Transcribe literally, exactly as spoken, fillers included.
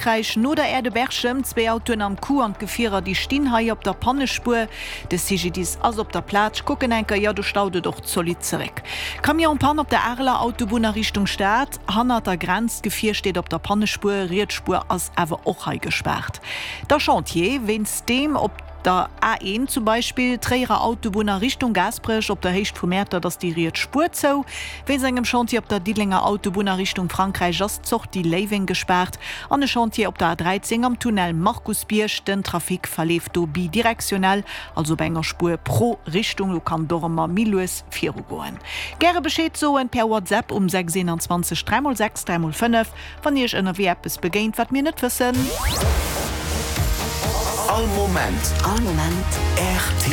Frankräich no der Aire de Berchem, zwee Autoen am Coup an d'Gefierer déi stinn hei op der Pannespuer. De C G D I S ass op der Plaz, kucken eng Kéier, jo do staut et och zolidd zeréck. Camion en panne op der Areler Autobunn a Richtung Stad, hannert der Grenz, d'Gefier steet op der Pannespuer, riets Spuer ass awer och hei gespaart. Da Chantier wéinst deem op der A eent zum Beispill, Tréierer Autobunn a Richtung Gaasperech op der Héicht vu Mäertert ass déi riets Spuer zou. Wéinst engem Chantier op der Diddelenger Autobunn a Richtung Frankräich ass d'Sortie Léiweng gespaart an e Chantier op der A dräizéng am Tunnel Markusbierg, den Trafic verleeft do bidirektionell, also op enger Spuer pro Richtung, do kann et och ëmmer méi lues virugoen. Gäre Bescheed soen per WhatsApp um sechs eenanzwanzeg dräi mol sechs dräi mol fënnef, wann Iech ënnerwee eppes begéint, wat mir net wëssen. All Moment. All Moment. R T L.